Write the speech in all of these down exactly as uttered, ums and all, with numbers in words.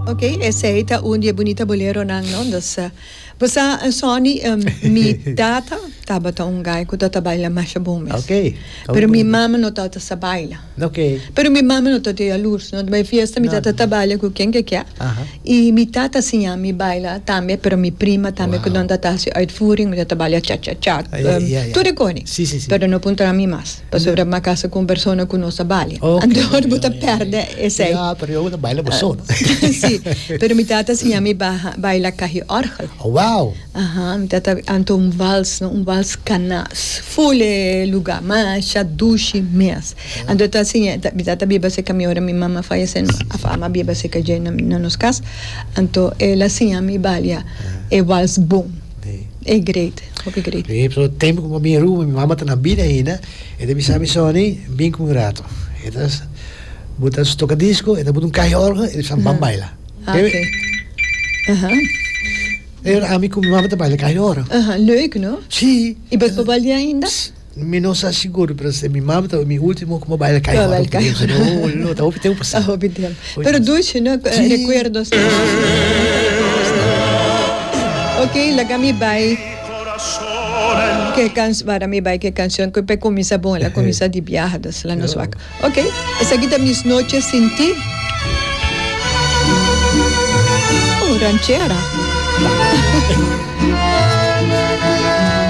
Ok, esey ta un di e bunita boleronan, no? Dus, uh, bo sa, uh, Sonny, um, mi tata tabata un guy cu tata baila masha bon mes. Ok. Pero mi mama no tata sa baila. Ok. Pero mi mama no tata jaloers, no? Bij fiesta mi No, tata no. ta baila cu ken ke kier. Aha. Y mi tata siña mi baila tambe, pero mi prima tambe Wow. cu nan tata haci uitvoering, mi tata baila cha cha cha. Ah, ja, Um, ja, ja. Tur e coni. Si, si, si. Pero no puntra mi mas. Pasobra mi a casa cu un persona cu no sa baila. Ok. Anto bo ta Ja, ja, ja. perde esey. Ja, pero yo no baila bo so, no? Si, pero mi tata siña mi baja, baila ca'i orgel. Oh, wow. Aha, mi tata anto un wals, no? Un wals cana, full e lugar, masha dushi mes. Anto ta siña, ta, mi tata biba cerca mi ora mi mama fallece, no, of ama biba cerca dje na, na nos cas. Anto el a siña mi baila e wals bon. Si. E great, hopi great. Si, so tempo cu mi Aruba, mi mama ta na bida ainda, e ta bisa mi: "Sonny, bin cu un rato." E ta buta su tocadisco, e ta buta un ca'i orgel, e ta bisa: "Ban baila." Ah, ok. Aha. E ami cu mi mama ta baila ca'i orgel. Aha, leuk, no? Si. Y bo por baila ainda? Mi no sa sigur, pero si mi mama ta mi ultimo cu baila ca'i Baila orgel. Ca'i No, no, ta hopi tempo pasa. Ah, hopi tempo. Hopi Pero tempo. dushi, no? Si. Recuerdos. Ok, laga mi bai. Cu can para mi bai cu cancion cu pa cuminsa bon, el a cuminsa di biaha, dus laga nos wak. Ok, esaki ta Mis Noches Sin Ti. Oh, ranchera.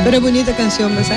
Pero bunita cancion, basta.